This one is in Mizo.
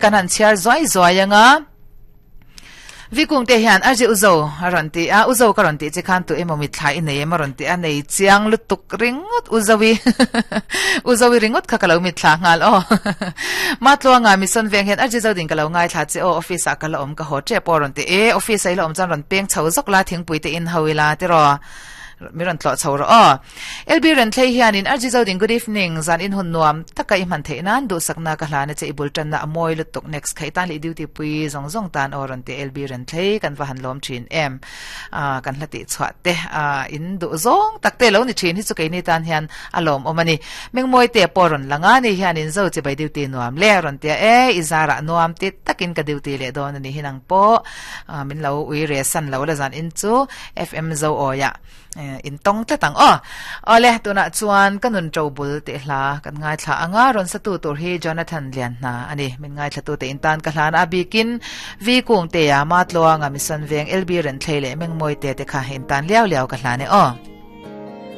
kan han chhiar zuai zuai anga. Vikung te hian a ri uzo a rawn ti a, uzo ka rawn tih che khan tu emaw mitthla i nei em a rawn ti a, nei chiang lutuk ringawt uzovi uzovi ringawt kha ka lo mitthla nghal aw Matluanga Mission veng hian a ri zo ding ka lo ngaithla che aw office ah ka la awm ka haw tep aw a rawn ti e office ah i la awm chuan rawn peng chho zawk la thingpui te in ho ila tiraw mi rawn tlawh chho rawh aw. LB Renthlei hianin RG Zoding good evening, zan in hun nuam taka i hman theih nan duhsakna ka hlan a che i bul tanna a mawi lutuk next kha i tan leh i duty pui zawng zawng tan aw rawn ti LB Renthlei kan va han lawm thin em ah kan hla tih chhuah te ah in duh zawng tak te lo ni thin hi chu keini tan hian a lawmawm a ni Mengmawi te pawh rawn lang a ni hianin zo chibai duty nuam le rawn tia e i zarah nuam ti takin ka duty leh dawn a ni hi nang pawh ah min lo ui re san lo la zan in chu FM zo awiah In tawng tlat ang aw. Awle, tunah chuan ka nun ṭo bul tih hla kan ngaithla ang a, rawn satu tur hi Jonathan Lianhna a ni. Min ngaithlatute in tan ka hlan a bikin V Kungtea, Matluanga, Mission Veng, LB Renthlei leh Mengmawite te kha in tan liau liau ka hlan e aw.